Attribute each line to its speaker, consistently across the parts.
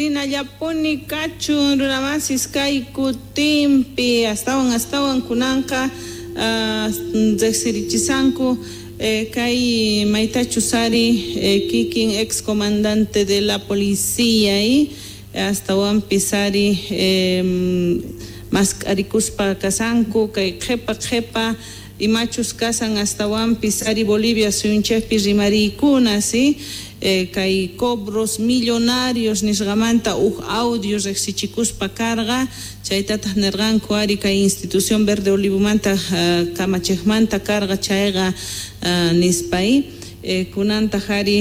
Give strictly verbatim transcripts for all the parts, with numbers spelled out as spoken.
Speaker 1: Rinallapuni kachun runamasis kay kutinpi astawan astawan kunanqa riqsirichisanku kay maytachus ari kikin ex comandante de la policía y astawanpis ari mask'arikuspa kasanku kay qhepa qhepa imachus kasan astawanpis ari Bolivia suyunchikpi rimariykuna si kay cobros millonarios nisqamanta uj audio riqsichikuspa karqa chaytataq nirqanku ari kay institución Verde Olivomanta kamachiqmanta karqa chayqa nispay kunantaq ari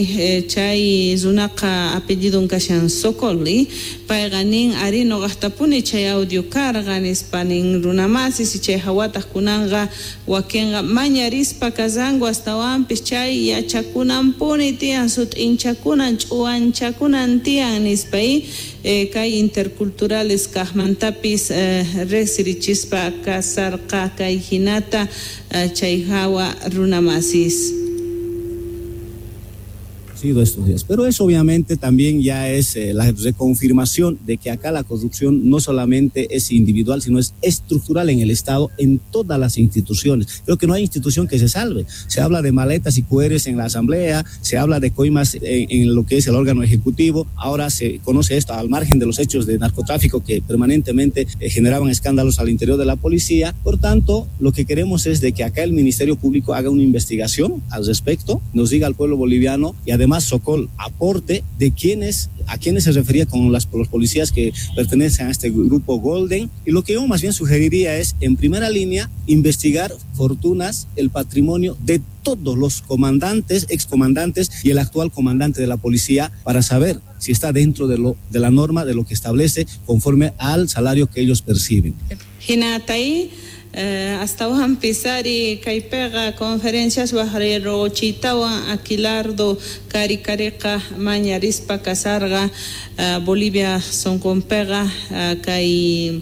Speaker 1: chay runaqa apellidun kashan Sokol payqa nin ari nuqaqtapuni chay audio karqa nispa nin runamasis chay hawataq kunanqa wakinqa mañarispa kasanku astawanpis chay yachakunanpuni tiyan sut'inchakunan ch'uwanchakunan tiyan nispay kay interculturales kaqmantapis riqsirichispa kasarqa kay hinata chay hawa runamasis.
Speaker 2: Estos días. Pero eso obviamente también ya es eh, la reconfirmación de que acá la corrupción no solamente es individual, sino es estructural en el Estado, en todas las instituciones. Creo que no hay institución que se salve. Se habla de maletas y Q Rs en la Asamblea, se habla de coimas en, en lo que es el órgano ejecutivo. Ahora se conoce esto al margen de los hechos de narcotráfico que permanentemente eh, generaban escándalos al interior de la policía. Por tanto, lo que queremos es de que acá el Ministerio Público haga una investigación al respecto, nos diga al pueblo boliviano y además Sokol aporte de quienes, a quienes se refería con las, los policías que pertenecen a este grupo Golden. Y lo que yo más bien sugeriría es, en primera línea, investigar fortunas, el patrimonio de todos los comandantes, excomandantes y el actual comandante de la policía para saber si está dentro de, lo, de la norma, de lo que establece conforme al salario que ellos perciben.
Speaker 1: Hinatay. Astawanpis ari kaypiqa conferencias waqriruchitawan Aquilardo Karikariqa mañarispa kasarqa Bolivia sunqunpiqa kay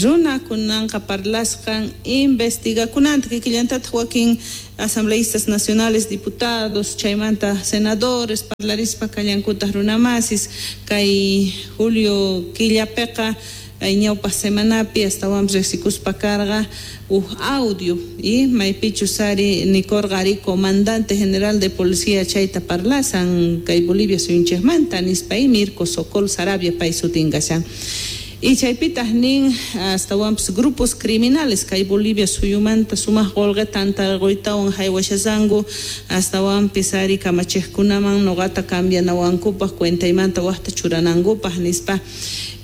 Speaker 1: runa kunanqa parlasqan investigakunanta kikillantataq wakin asambleístas nacionales, diputados, chaymanta senadores parlarispa kallankutaq runamasis kay julio killapiqa ñawpaq semanapi astawanpis riqsikuspa karqa uj audio y maypichus ari nikurqa ari comandante general de policía chayta parlasan kay Bolivia suyunchikmanta nispa y Mirko Sokol Sarabia pay sutin kashan. Y chaypitaq nin astawanpis grupos criminales kay Bolivia suyumanta sumaq qullqita tantarquytawan haywashasanku astawanpis ari kamachiqkunaman nuqata cambianawankupaq cuentaymanta waqta churanankupaq nispa.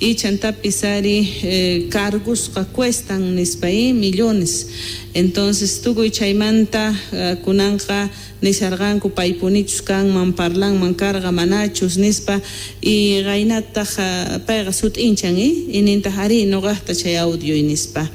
Speaker 1: Y chantapis ari eh, cargosqa cuestan nispa y millones. Entonces tukuy chaymanta uh, kunanqa nisharqanku paypunichus kanman parlanman karqa manachus nispa y qaynataq uh, payqa sut'inchan y nintaq ari nuqaqta chay audio nispa.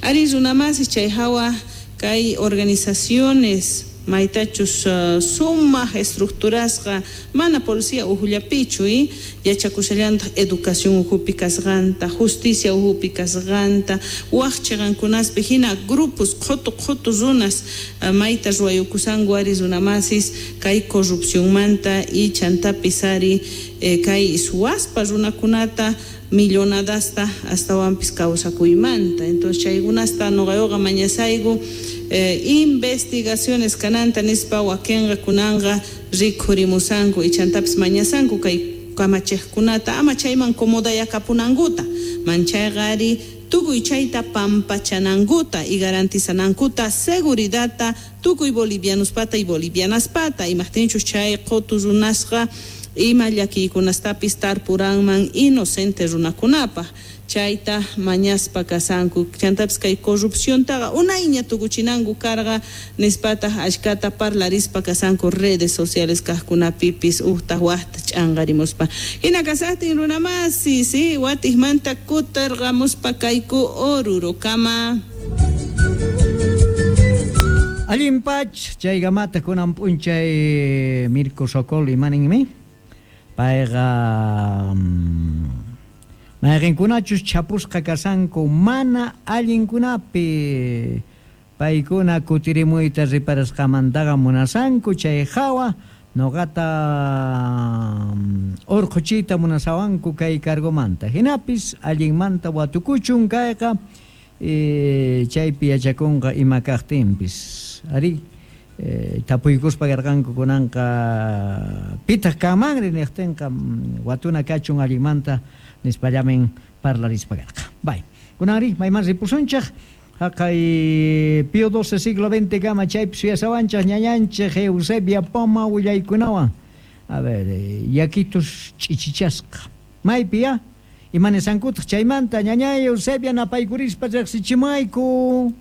Speaker 1: Ari runamasis chay hawa kay organizaciones maytachus uh, sumaq estructurasqa mana policía ujullapichu y yachakushallantaq educación ujupi kasqanta, justicia ujupi kasqanta, waq chiqankunaspi hina grupos qhutu qhutu runas uh, mayta ruwayukusanku ari runamasis kay corrupcionmanta y chantapis ari eh, kay suwaspa runakunata millonadasta astawanpis kawsakuymanta. Entonces chaykunasta nuqayuqa mañasayku Eh, investigaciones kananta nispa wakinqa kunanqa rikhurimusanku y chantapis mañasanku kay kamachiqkunata ama chayman comodayakapunankuta manchayqa ari tukuy chayta pampachanankuta y garantizanankuta seguridadta tukuy bolivianospata y bolivianaspata imaqtinchus chay qutu runasqa ima llakiykunastapis tarpuranman inocente runakunapaq chayta mañaspa kasanku chantapis kay corrupciontaqa unayña tukuchinanku karqa nispataq ashkata parlarispa kasanku redes sociales kaqkunapipis uqtaq waqta ch'anqarimuspa hina kasaqtin runamasi si watiqmanta kutirqamuspa kayku Orurokama.
Speaker 3: Allin pach chaykamata kunan p'unchay Mirko Sokol imaninmi payqa mayqinkunachus chapusqa kasanku mana allinkunapi paykuna kutirimuyta riparasqamantaqa munasanku chay hawa Noqata urquchiyta munasawanku kay cargomanta. Hinapis allinmanta watukuchun kayqa e, chaypi yachakunqa ima kaqtinpis. Ari e, tapuykuspa karqanku kunanqa pitaq kanmanri niqtinqa watuna kachun allinmanta nispallamin parlarispa karqa. Bay. Kunanri mayman ripusunchaq haqay Pío doce siglo veinte kama chaypi suyasawanchaq ñañanchik Eusebia Poma willaykunawan. A ver, yakitus ch'ichichasqa. Maypi ya? Imanisankutaq chaymanta ñañay Eusebia napaykurispa riqsichimayku.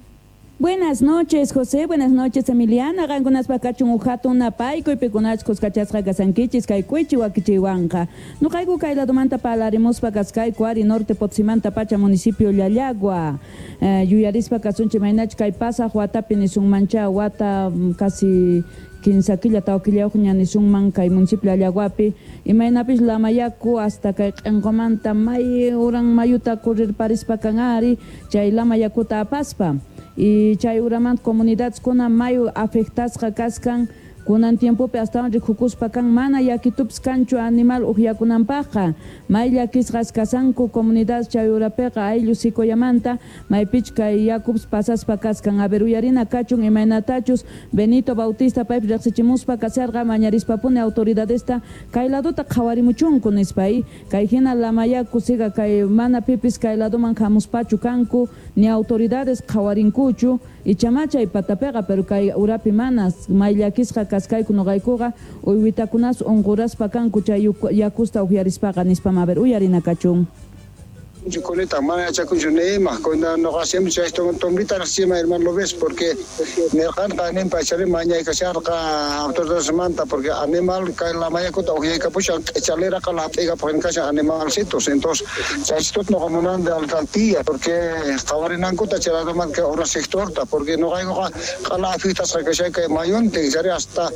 Speaker 4: Buenas noches, José. Buenas noches, Emiliana. Qankunaspa kachun uhatun napaykuy pikunachus kachasqa kasankichis kay kuychi wakichiwanqa. Nuqayku kay ladomanta parlarimuspa kaskayku ari norte Potsimanta pacha municipio Llallagua. Eh, yuyarispa kasunchik maynach kay pasaq watapi nisunmancha wata casi kinsa killa tawa killayuqña nisunman kay municipio Llallaguapi imaynapis lamayaku hasta kay q'inqumanta may uran mayuta kurirparispa kan ari chay lamayakuta apaspa. Y chay uramanta comunidades kuna mayu afectasqa kaskan kunan tiempopi astawan rikukuspa kan mana yakitupis kanchu animal uqyakunanpaqqa may llakisqas kasanku comunidades chay urapiqa ayllu sikoyamanta maypich kay yakupis pasaspa kaskan. A ver, uyarina kachun imaynatachus Benito Bautista paypi riqsichimuspa kasarqa mañarispapuni autoridadesta kay ladota qhawarimuchunku nispa kay hina lamayaku siga kay mana pipis kay ladoman hamuspachu kanku ni autoridades qhawarinkuchu ichama chay patapiqa pero kay urapi manas may llakisqa kaskayku nuqaykuqa uywitakunas unquraspa kanku chay yakusta uqyarispaqa nispa. A ver, uyarina kachun.
Speaker 5: Kunita mana yachakunchu ni ima kuna nuqa siempre chay tombita riqsima hermano lo ves porque nirqanqa ninpa chari mañaykasharqa autoridadesmanta porque animal kay lamayakuta uqyaykapushan q'ichaliraqa lap'ikapujin kashan animalcitos entonces chaychitut nuqa munan de alcaldía porque qhawarinankuta chay ladomanta kay ura sectorta porque nuqaykuqa q'ala afectasqa kashay kay mayuntin chari hasta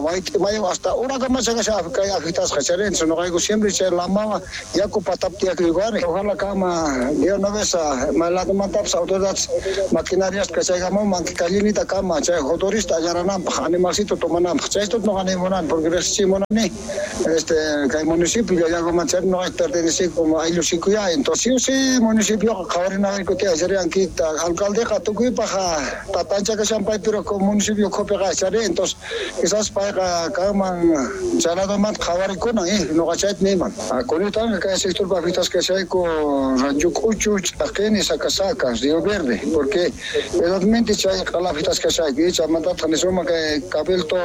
Speaker 5: wayt'i mayu hasta urakamacha kashan kay afectasqa chari entonces nuqayku siempre chay lamawan yaku patapi tiyakuyku. Ojalá kama de una vez maladomantapis autoridades maquinarias kachaykamunman kallinita kama chay motorista allanananpaq animalcito tomananpaq chaytut nuqa nimunani porque riqsichimunani este kay municipio Llallaguamanta chay nuqa pertenece como ayllu sikuya entonces sí o sí municipioqa qhawarinayku tiyan chari ankita alcaldeqa tukuypaq tatancha kashan pay pero municipio ukhupiqa chari entonces quizás payqa kanman chay ladomanta qhawarikunan eh nuqa chayta niyman kunitanga kay sectorpa afectasqa kashayku Rancho K'uchu, Ch'aqini, Sacasacas, Río Verde, porque verdaderamente chay q'ala afectasqa kashayku chaymantataq nisuma kay Cabildo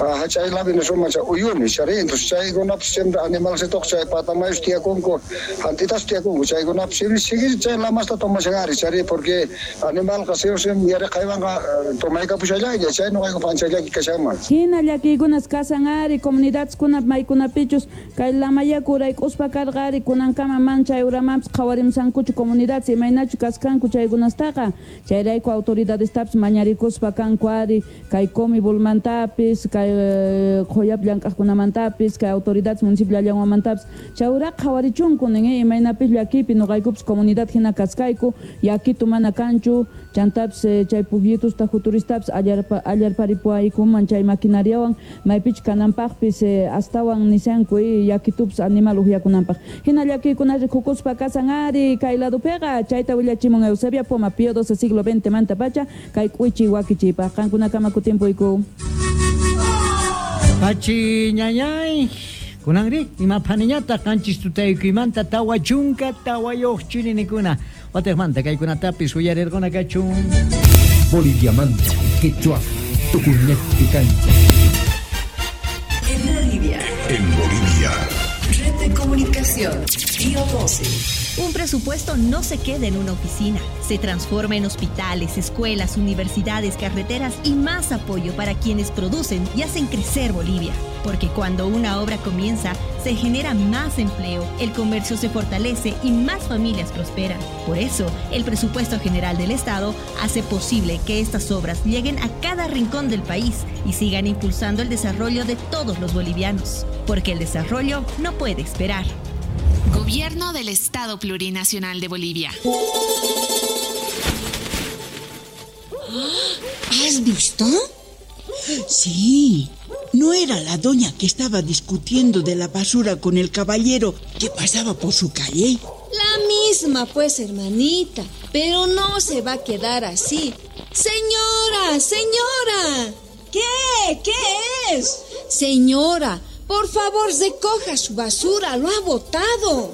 Speaker 5: hach'aylapi nisuma chay Uyuni chari entonces chaykunapis siempre animalcitoq chay patamayus tiyakunku jantitas tiyakunku chaykunapis siempre sigue chay lamasta tomashan ari chari porque animalqa sí o sí yariqaywanqa tomaykapushallaylla chay nuqayku panchallaki kashanman.
Speaker 4: Hina llakiykunas kasan ari comunidadeskuna maykunapichus kay lamayaku urayk'uspa karqa ari kunankama man chay uramanpis qhawarimsankuchu comunidades imaynachu kaskanku chaykunastaqa chayrayku autoridadestapis mañarikuspa kanku ari kay Comibulmantapis kay qhuyapi llank'aqkunamantapis kay autoridades municipio Llallaguamantapis chay uraqa qhawarichunku nin imaynapis llakipi nuqaykupis comunidad hina kaskayku yakitu mana kanchu chantapis chay pukyitusta juturistapis allarparipuaykuman chay maquinariawan maypichu kananpaqpis astawan nisanku yakitupis animal uqyakunanpaq. Hina llakiykuna rikukuspa kasan ari kay ladopiqa chayta willachimun Eusebia Poma Pío doce siglo veinte manta pacha kay k'uychi wakichiypaq qankunakama kutimpuyku.
Speaker 3: Pachi ñañay kunanri imapaniñataq qanchis tutaykuymanta tawa chunka tawayuq chirinikuna wataqmanta kaykunatapis uyarirquna kachun.
Speaker 6: Boliviamanta quechua tukuñaqpi kancha.
Speaker 7: En Bolivia.
Speaker 8: En Bolivia.
Speaker 7: Red de comunicación Pío doce.
Speaker 9: Un presupuesto no se queda en una oficina. Se transforma en hospitales, escuelas, universidades, carreteras y más apoyo para quienes producen y hacen crecer Bolivia. Porque cuando una obra comienza, se genera más empleo, el comercio se fortalece y más familias prosperan. Por eso, el Presupuesto General del Estado hace posible que estas obras lleguen a cada rincón del país y sigan impulsando el desarrollo de todos los bolivianos. Porque el desarrollo no puede esperar.
Speaker 10: Gobierno del Estado Plurinacional de Bolivia.
Speaker 11: ¿Has visto? Sí,
Speaker 8: ¿No era la doña que estaba discutiendo de la basura con el caballero que pasaba por su calle?
Speaker 11: La misma, pues, hermanita, pero no se va a quedar así. ¡Señora! ¡Señora!
Speaker 12: ¿Qué? ¿Qué es?
Speaker 11: Señora, por favor, recoja su basura, lo ha botado.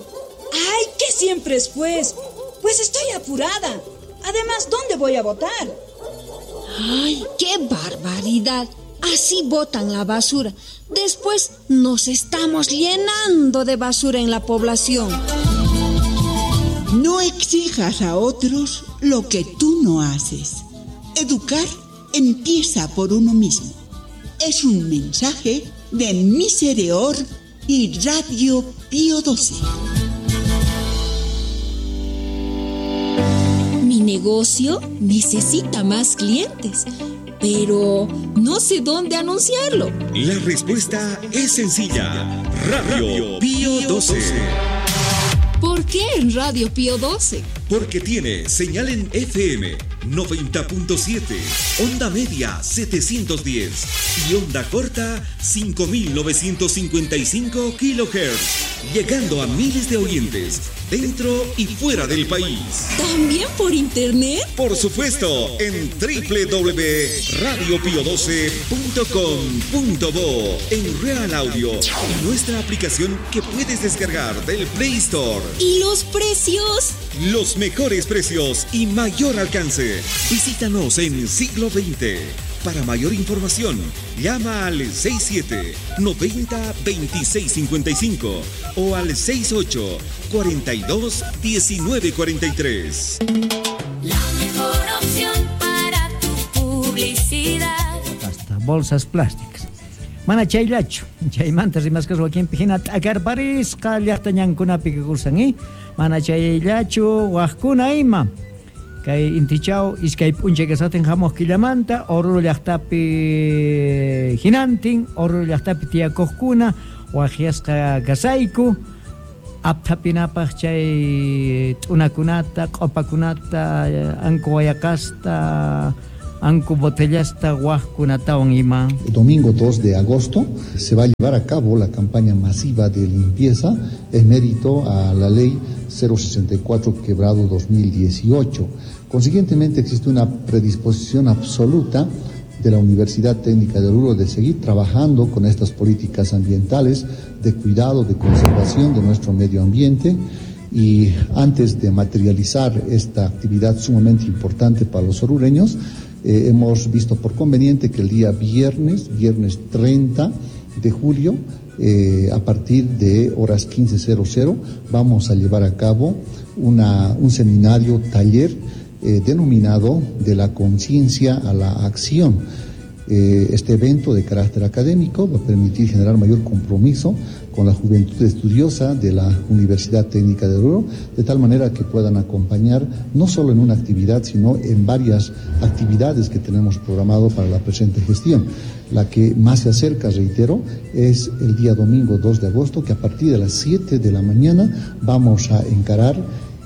Speaker 12: ¡Ay, qué siempre es, pues! Pues estoy apurada. Además, ¿dónde voy a botar?
Speaker 11: ¡Ay, qué barbaridad! Así botan la basura. Después nos estamos llenando de basura en la población.
Speaker 8: No exijas a otros lo que tú no haces. Educar empieza por uno mismo. Es un mensaje de Misereor y Radio Pío doce.
Speaker 11: Mi negocio necesita más clientes, pero no sé dónde anunciarlo.
Speaker 13: La respuesta es sencilla. Radio Pío doce.
Speaker 11: ¿Por qué en Radio Pío doce?
Speaker 13: Porque tiene señal en F M noventa punto siete, onda media setecientos diez y onda corta cinco mil novecientos cincuenta y cinco kilohertz, llegando a miles de oyentes dentro y fuera del país.
Speaker 11: ¿También por internet?
Speaker 13: Por supuesto, en doble u doble u doble u punto radio pío doce punto com punto bo, en Real Audio y nuestra aplicación que puedes descargar del Play Store.
Speaker 11: ¿Y los precios?
Speaker 13: Los mejores precios y mayor alcance. Visítanos en Siglo veinte. Para mayor información, llama al seis siete, noventa, veintiséis cincuenta y cinco o al seis ocho, cuarenta y dos, diecinueve cuarenta y tres.
Speaker 14: La mejor opción para tu publicidad.
Speaker 3: Hasta bolsas plásticas. Mana chayllachu, chaymanta rimasqa wakinpi hina t'akarparisqa llaqta ñankunapi kakusan, eh? Mana chayllachu waqkuna ima. Kay intichaw iskay p'unchay kasatin hamuq killamanta Oruro llaqtapi hinantin, Oruro llaqtapi tiyakuqkuna waqyasqa kasayku apthapinapaq chay t'unakunata, q'upakunata, anku wayaqasta, anku botellasta waqkunatawan ima.
Speaker 15: El domingo dos de agosto se va a llevar a cabo la campaña masiva de limpieza en mérito a la ley cero sesenta y cuatro quebrado dos mil dieciocho. Consiguientemente existe una predisposición absoluta de la Universidad Técnica de Oruro de seguir trabajando con estas políticas ambientales de cuidado, de conservación de nuestro medio ambiente, y antes de materializar esta actividad sumamente importante para los orureños, eh, hemos visto por conveniente que el día viernes, viernes treinta de julio, eh, a partir de horas quince cero cero, vamos a llevar a cabo una, un seminario taller eh, denominado De la conciencia a la acción. Eh, este evento de carácter académico va a permitir generar mayor compromiso con la juventud estudiosa de la Universidad Técnica de Oruro, de tal manera que puedan acompañar no solo en una actividad, sino en varias actividades que tenemos programado para la presente gestión. La que más se acerca, reitero, es el día domingo dos de agosto, que a partir de las siete de la mañana vamos a encarar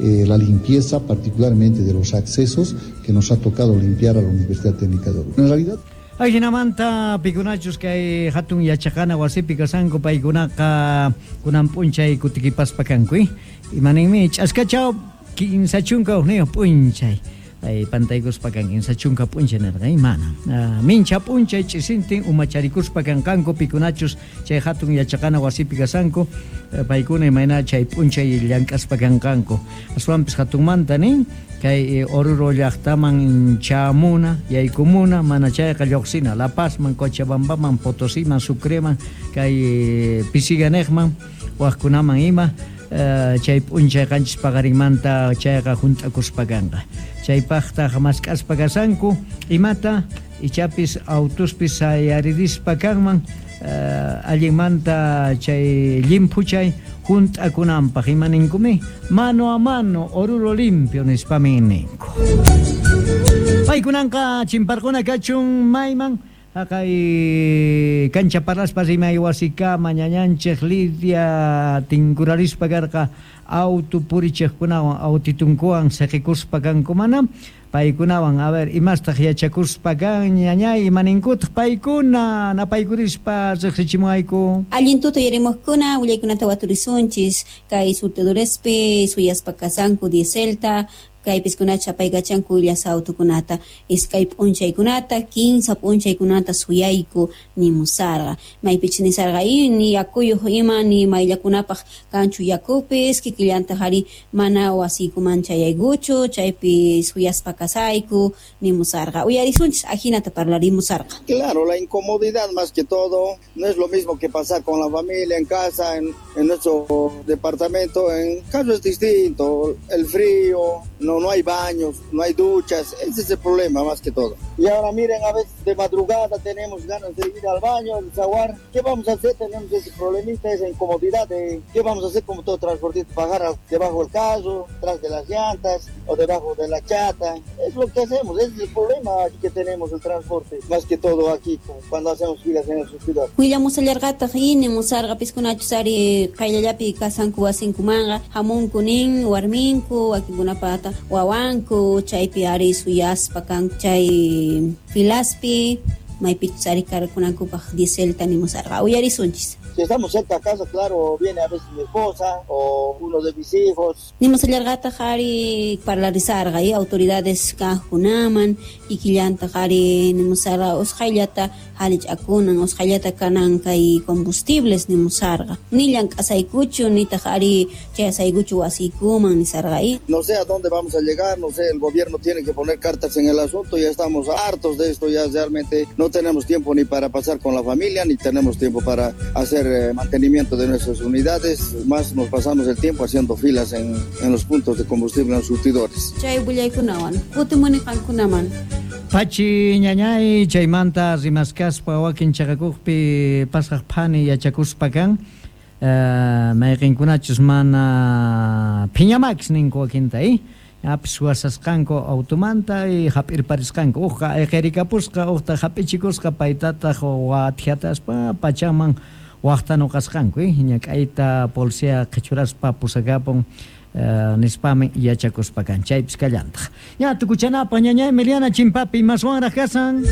Speaker 15: Eh, la limpieza, particularmente de los accesos que nos ha tocado limpiar a la Universidad Técnica de Oruro. En realidad,
Speaker 3: Ajinamanta pikunachus kay hatun yachaqana wasipi kasanku paykunaqa kunan p'unchay kutikipaspa kanku, eh? Imaninmi ch'askachaw kinsa chunka hukniyuq p'unchay. Ay pantaykuspa kan kinsa chunka p'unchay nirqa, eh? Mana. Ah, mincha p'unchay ch'isintin umacharikuspa kanqanku pikunachus chay hatun yachaqana wasipi kasanku paykuna imayna chay p'unchay llank'aspa kanqanku. Aswanpis hatunmanta nin kay Oruro llaqtaman chamuna, yaykumuna, mana chayqa lluqsina La Pazman, Cochabambaman, Potosiman, Sucreman, kay Pisiganejman, waqkunaman ima uh, chay p'unchay qanchis paqarinmanta chayqa hunt'akuspa kanqa. Chaypaqtaq mask'aspa kasanku imata ichapis autuspis sayaririspa kanman uh, allinmanta chay llimphuchay hunt'akunanpaq imaninkumi mano a mano Oruro limpio nispamin ninku. Paykunanqa chimparquna kachun mayman Haqay kancha parlaspa rimay wasikama ñañanchej Lidia tinkurarispa karqa auto purichejkunawan autitunkuwan siqikuspa kanku mana paykunawan a ver imastaq yachakuspa kan ñañay imaninkutaq paykuna napaykurispa riqsichimuayku.
Speaker 16: Allin tuta yarimuqkuna willaykunata waturisunchis kay surtidorespi suyaspa kasanku dieselta kaypis kunacha paykachanku illasa autukunata iskay p'unchaykunata kinsa p'unchaykunata suyayku nimusarqa maypich nisarqa ni yakuyuq ima ni mayllakunapaq kanchu yakupis kikillantaq ari mana wasiykuman chayaykuchu chaypi suyaspa kasayku nimusarqa uyarisunchis ajinata parlarimusarqa.
Speaker 17: Claro, la incomodidad más que todo, no es lo mismo que pasar con la familia en casa, en, en nuestro departamento, en caso es distinto, el frío, no, no hay baños, no hay duchas, ese es el problema más que todo. Y ahora miren, a veces de madrugada tenemos ganas de ir al baño, al desaguar. ¿Qué vamos a hacer? Tenemos ese problemita, esa incomodidad de qué vamos a hacer como todo transportista, bajar debajo del carro, tras de las llantas o debajo de la chata. Es lo que hacemos, ese es el problema que tenemos el transporte, más que todo aquí cuando hacemos filas en el ciudad.
Speaker 16: Willamusallarqataq inimusarqa piskunachus ari qayllallapi kasanku wasinkumanqa hamunku nin warminku wakinkunapata wawanku chaypi ari suyaspa kanku chay filaspi maypichus ari karkunankupaq dieselta nimusarqa uyarisunchis.
Speaker 17: Si estamos cerca a casa, claro, viene a veces mi esposa o uno de mis hijos.
Speaker 16: Nimusallarqataq ari parlarisarqa y autoridades kajkunaman kikillantaq ari nimusarqa usqhayllata halich'akunan usqhayllata kanan kay combustibles nimusarqa ni llank'asaykuchu nitaq ari chayasaykuchu wasiykuman nisarqa y
Speaker 17: no sé a dónde vamos a llegar, no sé, el gobierno tiene que poner cartas en el asunto, ya estamos hartos de esto, ya realmente no tenemos tiempo ni para pasar con la familia, ni tenemos tiempo para hacer mantenimiento de nuestras unidades, más nos pasamos el tiempo haciendo filas en, en los puntos de combustible en los surtidores.
Speaker 16: Chay willaykunawan kutimuni qankunaman.
Speaker 3: Pachi ñañay chaymanta rimaskaspa wakin chaqakuqpi pasaq phani yachakuspa kan uh, mayqinkunachus mana phiñamakis ninku wakinta eh? Apis wasasqanku automanta y hap'irparisqanku uqqa ayqirikapusqa uqta hap'ichikusqa paytataq wathiataspa pachaman waqtanuqasqanku eh? Ñak'ayta policía qhichuraspa pusakapun Uh, nispami yachakuspa kan chaypis kallantaq ña tukuchanapaq ñaña Emiliana Chimpapi maswanraq kasan.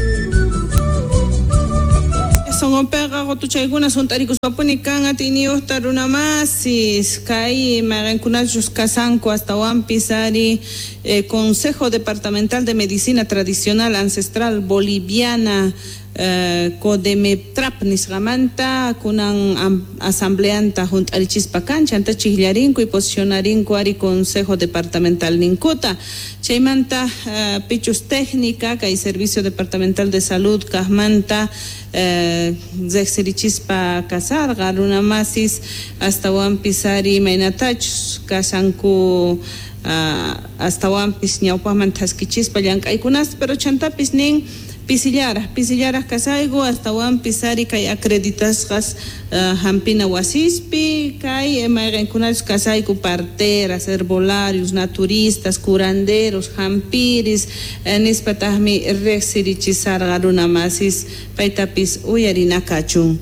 Speaker 1: Sonqonpiqa qutuchaykuna sunt'arikuspapuni kan atiyniyuqta runamasis kay mayqinkunachus kasanku astawanpis ari eh, Consejo Departamental de Medicina Tradicional Ancestral Boliviana eh, Codemetrap nisqamanta kunan asambleanta junt'arichispa kan chanta chiqllarinku y posicionarinku ari Consejo Departamental ninkuta chaymanta uh, pichus técnica kay Servicio Departamental de Salud kaqmanta eh, riqsirichispa kasarqa runamasis astawanpis ari imaynatachus kasanku uh, astawanpis ñawpaqman thaskichispa llank'aykunasta pero chantapis nin pisillaraj pisillaraj kasayku astawanpis ari kay acreditasqas uh, hampina wasispi kay mayqinkunachus kasayku parteras, herbolarios, naturistas, curanderos, hampiris eh, nispataqmi riqsirichisarqa runamasis paytapis uyarinakachun.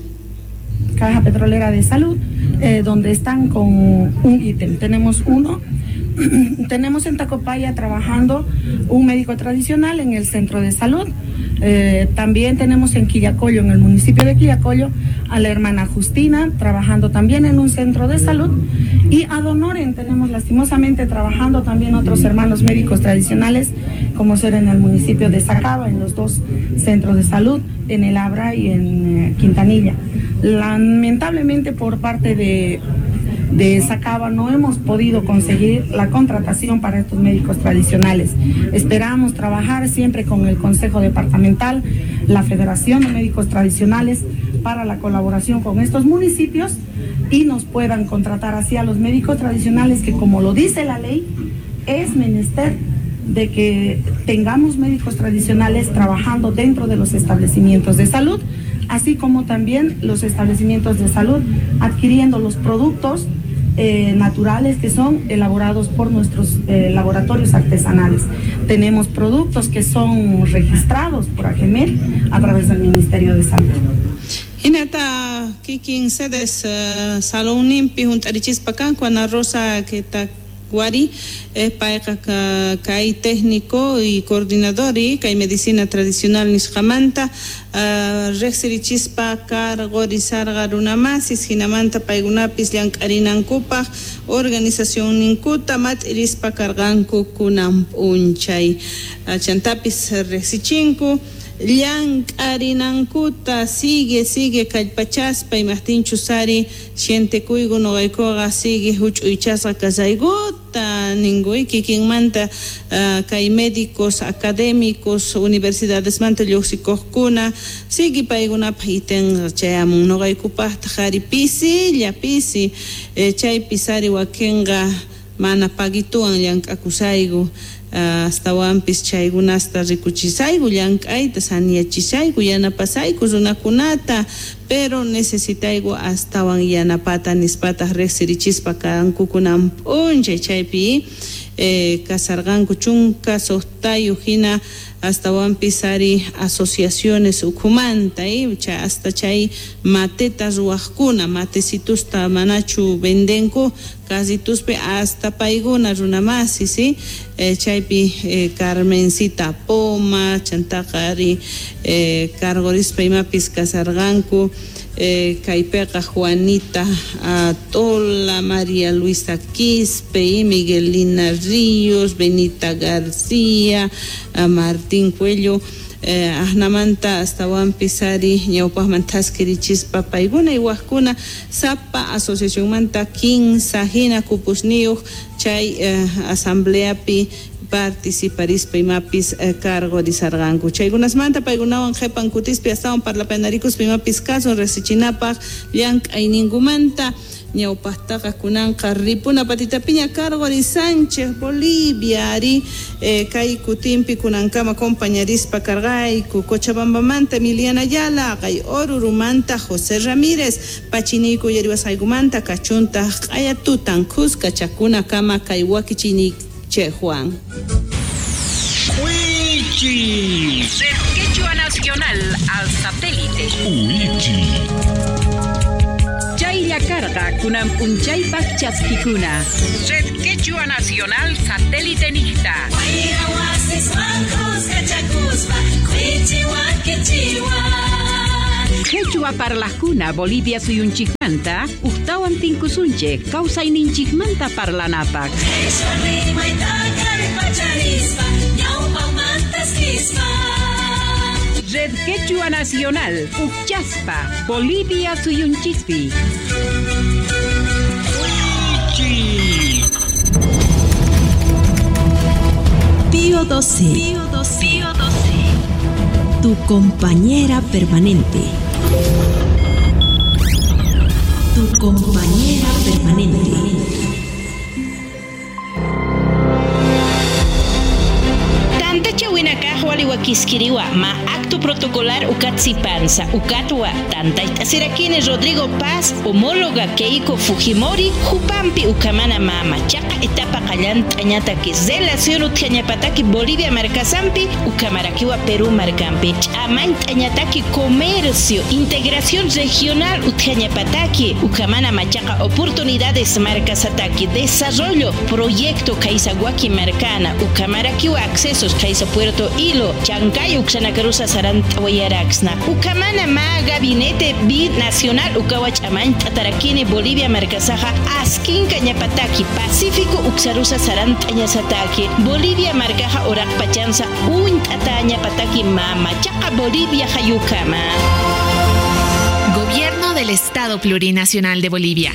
Speaker 18: Caja Petrolera de Salud, eh, donde están con un ítem. Tenemos uno. Tenemos en Tacopaya trabajando un médico tradicional en el centro de salud. Eh, también tenemos en Quillacollo, en el municipio de Quillacollo, a la hermana Justina trabajando también en un centro de salud. Y a Donoren tenemos lastimosamente trabajando también otros hermanos médicos tradicionales, como ser en el municipio de Sacaba, en los dos centros de salud, en El Abra y en eh, Quintanilla. Lamentablemente por parte de de Sacaba no hemos podido conseguir la contratación para estos médicos tradicionales. Esperamos trabajar siempre con el Consejo Departamental, la Federación de Médicos Tradicionales, para la colaboración con estos municipios y nos puedan contratar así a los médicos tradicionales que, como lo dice la ley, es menester de que tengamos médicos tradicionales trabajando dentro de los establecimientos de salud, así como también los establecimientos de salud adquiriendo los productos eh, naturales que son elaborados por nuestros eh, laboratorios artesanales. Tenemos productos que son registrados por AGEMEL a través del Ministerio de Salud.
Speaker 1: Hinata kikin sedes uh, salonninpi hunt'arichispa kanku Ana Rosa Ketakwari eh, payqa kay técnico y coordinador y kay medicina tradicional nisqamanta uh, riqsirichispa karqurisarqa runamasis hinamanta paykunapis llank'arinankupaq organización ninkuta mat'irispa karqanku kunan p'unchay uh, chantapis riqsichinku llank'arinankuta sigue sigue kallpachaspa imaqtinchus ari sientekuyku nuqaykuqa sigue huch'uychasqa kasaykuta ninkuy kikinmanta uh, kay médicos académicos universidadesmanta lluqsikuqkuna sigue paykunapaq itenqa chayamun nuqaykupaqtaq ari pisilla pisi eh, chaypis ari wakinqa mana paguituwan llank'akusayku astawanpis chaykunasta rikuchisayku llank'ayta saniyachisayku yanapasayku runakunata pero necesitayku astawan yanapata nispataq riqsirichispa kanku kunan p'unchay chaypi eh, kasarqanku chunka suqtayuq hina astawanpis ari asociaciones ukhumanta eh, cha, hasta chay mateta ruwaqkuna matecitusta manachu vendenku casituspi hasta paykuna runamasi ¿sí? eh, chaypi eh, Carmencita Poma chantaqa ari eh, karqurispa imapis kasarqanku eh, kaypiqa Juanita Atola, María Luisa Quispe, y Miguelina Ríos, Benita García, Martín Cuello, eh, ahnamanta astawanpis ari ñawpaqman thaskirichispa paykuna y wajkuna sapa asociacionmanta kinsa hina kupusniyuq chay eh, asambleapi participarispa imapis eh, karqurisarqanku chaykunasmanta paykunawan qhipan kutispi astawan parlapanarikuspa imapis kasun riqsichinapaq llank'ayninkumanta ñawpaqtaqa kunanqa ripuna patitapiña karqurisanchik Bolivia ari eh, kay kutinpi kunankama compañarispa karqayku Cochabambamanta Emiliana Ayala kay Orurumanta José Ramírez Pachiniyku yariwasqaykumanta kachuntaq q'ayatutan kuska chakunakama kay wakichini Che Juan.
Speaker 19: Wichi. Red Quechua Nacional al satélite.
Speaker 13: Wichi.
Speaker 19: Chaylla karqa kunan p'unchaypaq chaskikuna. Red Quechua Nacional satélite niqta. Quechua parlajkuna Bolivia suyunchikmanta uqtawan tinkusunchik kawsayninchikmanta parlanapaq. Red Quechua Nacional Uqchaspa Bolivia suyunchikpi.
Speaker 7: Pío doce. Pío doce. Pío doce. Tu compañera permanente. Tu compañera permanente.
Speaker 20: Waliwakiskiriwa ma acto protocolar ukatsipanza ukatwa tantaytasirakini Rodrigo Paz homóloga Keiko Fujimori Jupampi ukamana mama chaqa etapa qallant'añataki relación utjañapataki Bolivia markasampi ukamarakiwa Perú markampi ch'amant'añataki comercio integración regional utjañapataki ukamana machaqa oportunidades markasataki desarrollo proyecto Kaisaguaki markana ukamarakiwa accesos Kaisa Puerto Ilo Chancay uxanakarusa sarantawayaraxna ukamana ma gabinete binacional ukawach'aman t'atarakini Bolivia markasaja askinka ñapataki Pacífico uxarusa sarant'añasataki Bolivia markaja oraqpachansa unt'ata ñapataki mama chaqa Bolivia hayukama.
Speaker 10: Gobierno del Estado Plurinacional de Bolivia.